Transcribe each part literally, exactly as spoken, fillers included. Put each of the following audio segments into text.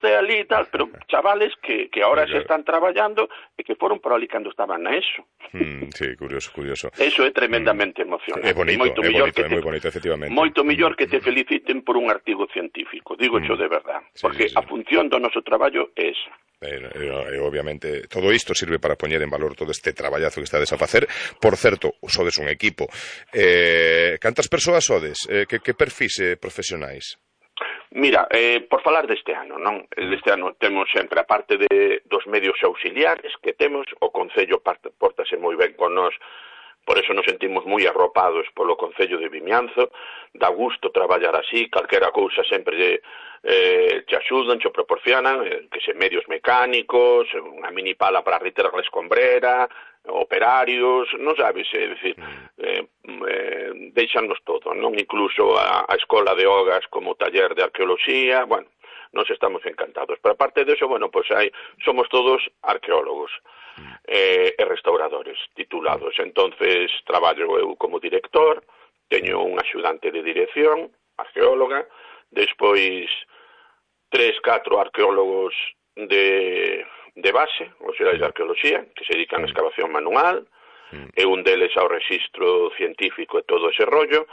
este ali e tal, pero chavales que, que ahora claro. se están traballando e que foron por ali cando estaban na ESO. Mm, sí, curioso, curioso. Eso é tremendamente mm. emocionante. É bonito, moito é bonito, que é moi bonito, efectivamente. Moito mellor que te feliciten por un artigo científico, digo xo mm. de verdad, sí, porque sí, sí. a función do noso traballo é esa. E, e, obviamente todo isto sirve para poñer en valor todo este traballazo que estades a facer. Por certo, sodes un equipo. Eh, cantas persoas sodes? Eh, que, que perfis eh, profesionais? Mira, eh, por falar deste ano, non? Deste ano temos sempre, a parte de, dos medios auxiliares que temos, o Concello pórtase moi ben con nós, por eso nos sentimos moi arropados polo Concello de Vimianzo, dá gusto traballar así, calquera cousa sempre de, eh, te axudan, te proporcionan, eh, que se medios mecánicos, unha mini pala para retirar a escombrera, operarios, non sabes, é dicir, eh, eh, deixanos todo, non? Incluso a, a escola de Ogas como taller de arqueoloxía, bueno, nos estamos encantados. Pero aparte de eso, bueno, pues hai, somos todos arqueólogos eh, e restauradores titulados. Entonces, traballo eu como director, teño un axudante de dirección, arqueóloga, despois tres, catro arqueólogos de... de base, os xerais de arqueoloxía, que se dedican a excavación manual, mm. e un deles ao registro científico e todo ese rollo,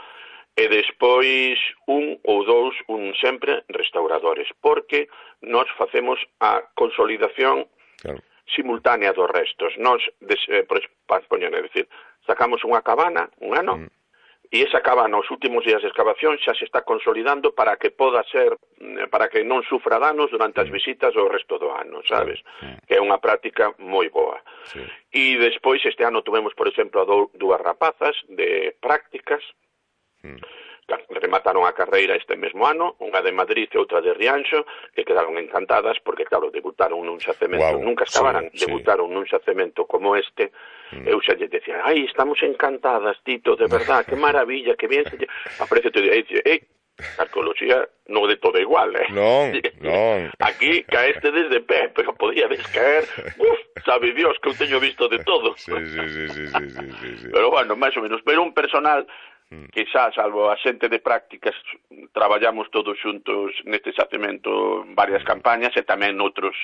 e despois un ou dous, un sempre, restauradores, porque nós facemos a consolidación claro. simultánea dos restos. Nós, des, eh, para poñer, é dicir, sacamos unha cabana, un ano, mm. e esa cabana, nos últimos días de excavación, xa se está consolidando para que poda ser, para que non sufra danos durante as visitas do resto do ano, sabes? Sí. Que é unha práctica moi boa. Sí. E despois, este ano, tuvemos, por exemplo, a dúas rapazas de prácticas, mm. remataron a carreira este mesmo ano, unha de Madrid e outra de Rianxo, que quedaron encantadas porque, claro, debutaron nun xacemento, wow, nunca escabaran, sí, debutaron sí. nun xacemento como este, mm. eu xa lle decía, ai, estamos encantadas, Tito, de verdad, que maravilla, que bien se lle... Aparece te dice, ei, arqueoloxía non de todo igual, eh? Non, non. Aquí caeste desde pé, pero podíades caer, uf, sabe Dios, que eu teño visto de todo. Sí, sí, sí, sí, sí, sí, sí, sí. Pero bueno, máis ou menos, pero un personal... que xa, salvo a xente de prácticas, traballamos todos xuntos neste xacemento en varias campañas e tamén noutros,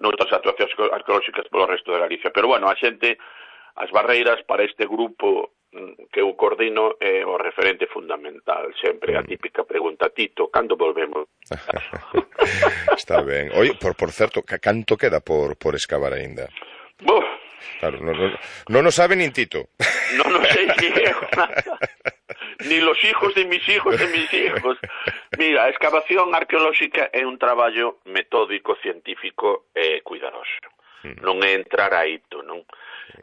noutras actuacións arqueolóxicas polo resto de Galicia. Pero bueno, a xente, as barreiras para este grupo que eu coordino é o referente fundamental. Sempre a típica pregunta, Tito, cando volvemos? Está ben. Oi, por, por certo, canto queda por, por excavar aínda? Buf, claro, no, no, no lo sabe nin Tito. No, no sé si ni los hijos de mis hijos de mis hijos. Mira, a excavación arqueolóxica é un traballo metódico, científico e cuidadoso. Mm. Non é entrar a hito, non?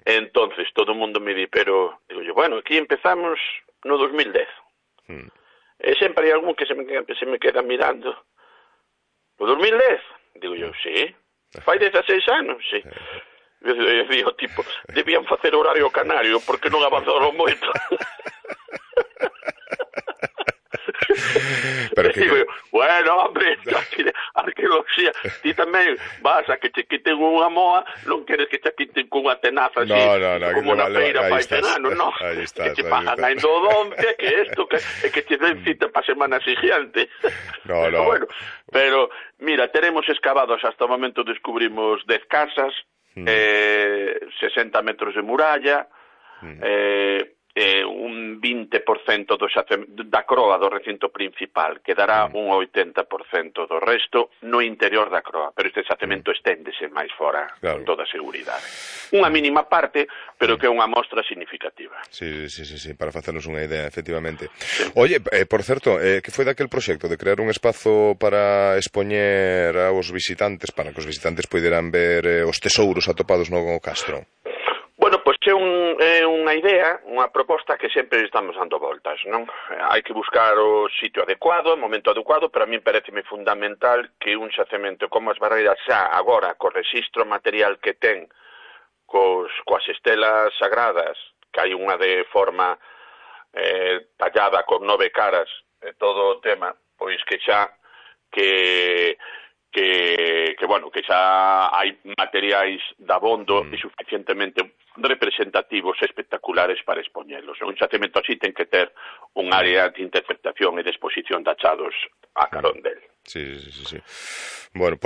Entonces, todo o mundo me di, pero, digo yo, bueno, aquí empezamos no dos mil dez. Mm. E sempre hai algún que se me, que se me queda mirando. No dos mil dez? Digo yo, sí. Fai dezaseis anos, sí. Eu digo, tipo, debían facer horario canario porque non avanzaron moito. Pero que... digo, bueno, hombre, arqueoloxía, ti tamén vas a que che quiten unha moa, non queres que che quiten cunha tenaza así, no, no, no, como na feira para enano, no, estás, que che pagan a endodonte, que esto, que, que che den cita para semana siguiente. No, no. Bueno, pero, mira, teremos excavados, hasta o momento descubrimos dez casas, mm. eh, sesenta metros de muralla, mm. eh, eh, un vinte por cento do xacem, da croa do recinto principal, que dará mm. un oitenta por cento do resto no interior da croa, pero este xacemento mm. esténdese máis fora, claro. Con toda seguridade. Unha mínima parte, pero que é unha mostra significativa. Sí, sí, sí, sí, para facernos unha idea, efectivamente. Sí. Oye, eh, por certo, eh, que foi daquel proxecto de crear un espazo para expoñer aos visitantes, para que os visitantes poideran ver eh, os tesouros atopados no castro? Bueno, pois é, un, é unha idea, unha proposta que sempre estamos dando voltas, non? Hai que buscar o sitio adecuado, o momento adecuado, pero a mí pareceme fundamental que un xacemento como as Barreiras xa agora, co rexistro material que ten, cos, coas estelas sagradas, que hai unha de forma eh, tallada con nove caras, e todo o tema, pois que xa que... Que, que, bueno, que xa hai materiais dabondo mm. e suficientemente representativos e espectaculares para expoñelos. Un xacemento así ten que ter un área de interpretación e de exposición de achados a carón del. Sí, sí, sí, sí. Bueno,